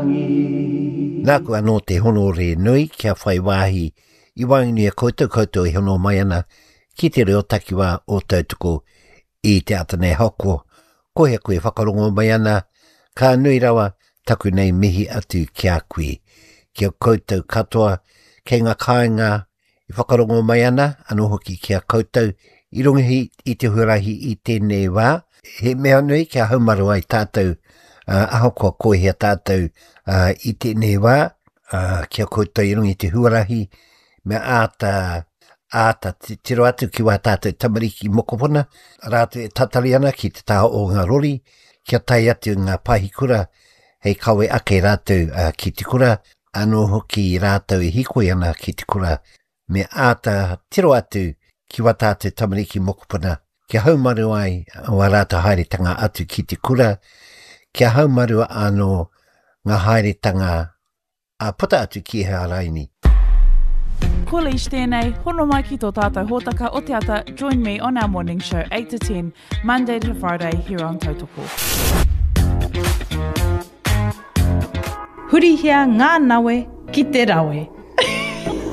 Nāku anō te honōre nui kia whai wāhi i waenganui a koutou, koutou e hono mai ana ki te reo takiwā o Tautoko i te ata nei hako. Ko hea koe whakarongo mai ana, ka nui rawa taku nei mihi atu ki a koe. Ki a koutou katoa kei ngā kāinga e whakarongo mai ana, anō hoki ki a koutou i runga i te huarahi i tēnei wā. He mea nui kia haumaru ai tātou, ahakoa ko hea tātou i tēnei wā, ki a koutou i runga i te huarahi, me āta, āta tiro atu ki wā tātou tamariki mokopuna, rātou e tatari ana ki te taha o ngā rori, kia tae atu ngā pahikura hei kawe ake rātou ki te kura, anō hoki rātou e hīkoi ana ki te kura, me āta tiro atu ki wā tātou tamariki mokopuna, kia haumaru ai wā rātou haeretanga atu ki te kura, kia haumaru anō ngā haeretanga ā puta atu ki hea raini. Ko Leish tēnei, hono mai ki tō tātou hōtaka o te ata Join me on our morning show 8 to 10, Monday to Friday here on Tautoko. Hurihia ngā nawe ki te rawe.